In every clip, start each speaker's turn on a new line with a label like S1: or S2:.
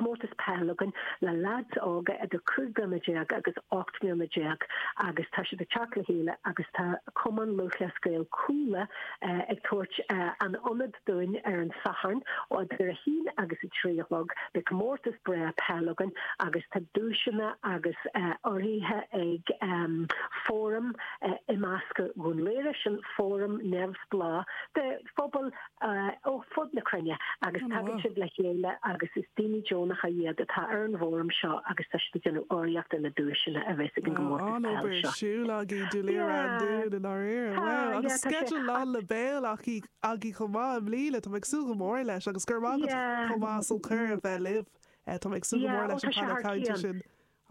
S1: comórtas peil againn le leaids óga idir 15 bliana agus 18 mbliana agus tá siad ag teacht le chéile agus tá Cumann Lúthchleas Gael Cuala ag tabhairt an ionad dúinn ar an Satharn ó idir 1 agus 3 a chlog. Beidh comórtas breá peil againn agus tá duaiseanna agus urraithe ag Fóram Imeasctha Dhún Laoghaire, sin fóram neamhspleách de phobal ó fud na cruinne agus tagann siad le chéile agus is daoine deonacha iad atá ar an bhfóram seo agus tá siad ag déanamh urraíocht ar na duaiseanna a bheas ag an gcomórtas
S2: peil seo. An-obair ar siúl agaibh, Dún Laoghaire Ráth an Dúin i ndáiríre. Wow! Agus sceideal lán le béal agaibh chomh maith i mbliana, tá mé ag súil go mór leis agus go raibh maith agat chomh maith as an cuireadh a bheith libh. Tá mé ag súil go mór leis an painéal cainte sin.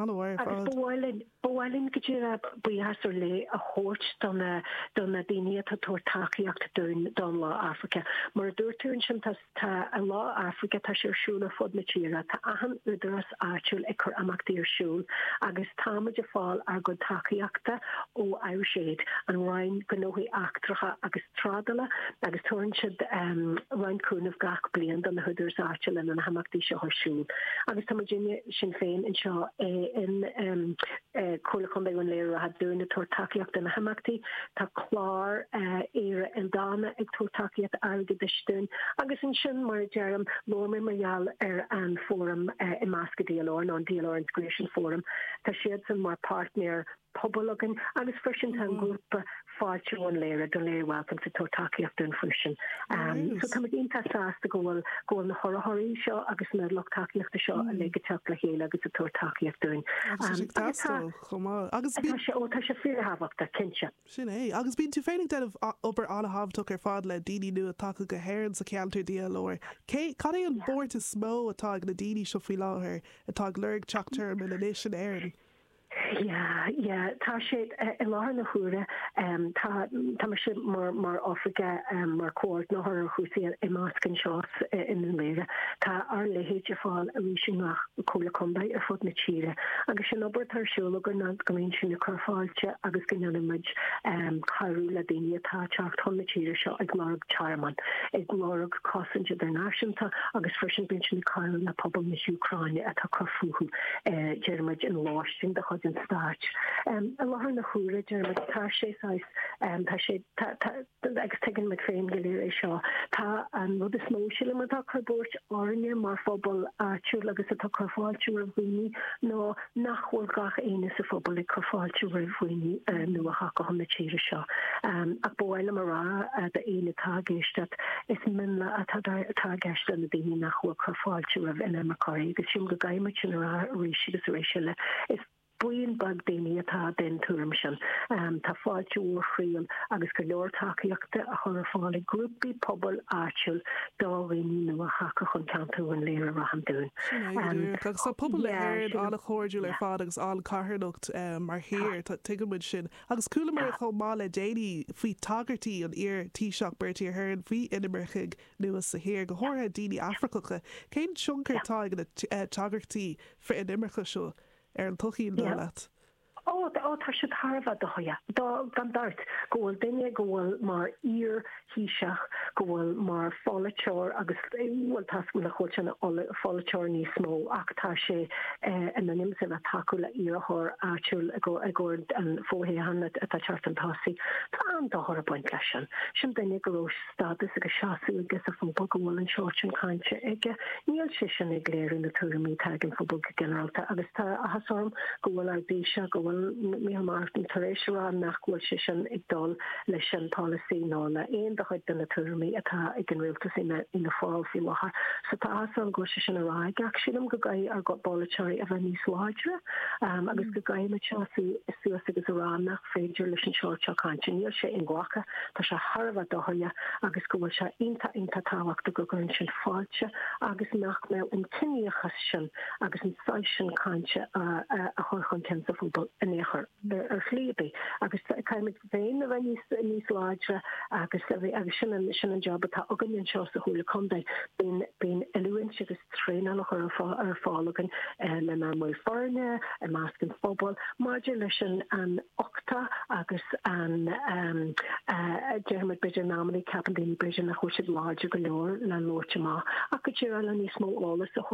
S2: An-mhaith ar
S1: Agus
S2: fad.
S1: ba mhaith linn, ba mhaith linn go díreach buíochas ar leith a thabhairt do na, do na daoine atá ag tabhairt tacaíocht dúinn don Lá Afraice. Mar a dúirt tú ansin, tá, tá an Lá Afraice, tá sé ar siúl ar fud na tíre, tá achan údarás áitiúil ag cur imeachtaí ar siúl agus táimid ag fáil ár gcuid tacaíochta ó Irish Aid, an Roinn Gnóthaí Eachtracha agus Trádála, agus tabharann siad roinnt cúnaimh gach bliain do na húdaráis áitiúla lena na himeachtaí seo ar siúl. Agus tá muidinne, Sinn Féin, anseo in Comhairle Contae Dhún Laoghaire Ráth Dúin ag tabhairt tacaíocht do na himeachtaí. Tá clár Éire Ildánach ag tabhairt tacaíocht airgeadais dúinn. Agus ansin, mar a deirim, labhair mé mar gheall ar an Fóram Imeasctha DLR, nó an DLR Integration Forum. Tá siadsan mar páirtnéir pobail againn agus freisin tá an grúpa Fáilte Dhún Laoghaire, Dún Laoghaire Welcomes ag tabhairt tacaíocht dúinn freisin. So tá muid iontach sásta go bhfuil go bhfuil na hurraitheoirí seo agus na lucht tacaíochta seo uilig ag teacht le chéile agus ag tabhairt tacaíocht dúinn.
S2: Agus tá sé ag teastáil chomh maith. Agus
S1: tá sé, ó tá sé fíorthábhachtach, cinnte.
S2: Sin é. Agus bíonn tú féin ag déanamh obair an-thábhachtach ar fad le daoine nua tagtha go hÉirinn sa cheantar DLR. Cé, cad é an bhuairt is mó atá ag na daoine seo faoi láthair atá ag lorg teach tearmainn anois in Éirinn?
S1: Yeah, yeah, tá sé i láthair na huaire, tá, tá mise mar, mar oifigeach, mar comhordaitheoir ar chúrsaí imeasctha anseo i nDún Laoghaire. Tá ár leithéid ar fáil arís i ngach comhairle contae ar fud na tíre agus an obair atá ar siúl againn ná go mbíonn sinn ag cur fáilte agus go ndéanann muid cabhrú le daoine atá ag teacht chun na tíre seo ag lorg tearmann, ag lorg cosaint idirnáisiúnta agus freisin bíonn sinn ag cabhrú le pobal na hÚcráine atá ag cur fúthu. deir muid, in lóistín de chuid an stáit. I láthair na huaire, deir muid, tá sé saghas, tá sé, tá, tá, agus tuigeann muid féin go léir é seo, tá an rud is mó, sílim, atá ag cur buairt orainne mar phobal áitiúil agus atá ag cur fáilte roimh dhaoine ná nach bhfuil gach éinne sa phobal ag cur fáilte roimh dhaoine nua tagtha chun na tíre seo. Ach ba mhaith liom a rá d'éinne atá ag éisteacht, Is mionlach atá atá i gceist le na daoine nach bhfuil ag cur fáilte roimh inimirceoirí agus sílim go gcaithfidh muid sin a rá arís agus arís eile. Is buíon beag daoine atá den tuairim sin. Tá fáilte mhór chroíúil agus go leor tacaíochta á chur ar fáil ag grúpaí pobail áitiúil do dhaoine nua tagtha chun ceantar Dhún Laoghaire Ráth an Dúin.
S2: Sin é go díreach. Agus tá pobal na hÉireann an-chairdiúil ar fad agus an-charthanacht mar thír. Tuigeann muid sin. Agus chualamar chomh maith le déanaí faoi tagairtí an iar-Taoiseach Bertie Ahern faoi inimircigh nua sa thír, go háirithe daoine Afracacha. Cén tionchar atá ag na tagairtí frith-inimirce seo ar an tsochaí, an dóigh leat?
S1: Ó, ó, tá siad thar a bheith dóighiúil, gan dabht, go bhfuil duine go bhfuil mar iar-Thaoiseach, go bhfuil mar pholaiteoir agus, bhuel, tá nach bhfuil sé ina pholaiteoir níos mó ach tá sé in ainm is a bheith ag tacú le iarrthóir áitiúil i gcomhair an fhothoghcháin atá ag teacht chun tosaigh. Tá an-dochar ag baint leis sin. Sin duine go raibh stádas agus seasamh aige sa phobal, go bhfuil an sórt sin cainte aige. Níl sé sin ag léiriú na tuairimí atá ag an phobal go ginearálta agus tá áthas orm go bhfuil ár dTaoiseach, go bhfuil Micheál Martin tar éis a rá nach bhfuil sé sin ag dul leis an polasaí nó le aon de chuid de na tuairimí atá ag an rialtas Fhianna Fáil faoi láthair. So tá áthas orm go bhfuil sé sin á rá aige ach sílim go gcaithfidh ár bpolaiteoirí a bheith níos láidre agus go gcaithfidh muid seasamh suas agus a rá nach féidir leis an sórt seo cainte, níl sé inghlactha, tá sé thar a bheith dóighiúil agus go bhfuil sé iontach iontach tábhachtach go gcuireann sinn fáilte agus nach mbeadh an ciníochas sin agus an saghas sin cainte á chur chun cinn sa phobal in aon chor, ar shlí ar bith. Agus caithfimid féin a bheith níos níos láidre agus agus sin an sin an job atá againn anseo sa Chomhairle Contae. Bíonn bíonn oiliúint agus traenáil á chur ar fáil againn lenár mbaill foirne, i measc an phobail, maidir leis an an uchtach agus an déarfaimid b'fhéidir in amannaí ceapann daoine b'fhéidir nach bhfuil siad láidir go leor le labhairt amach ach go díreach le níos mó eolas a thabhairt.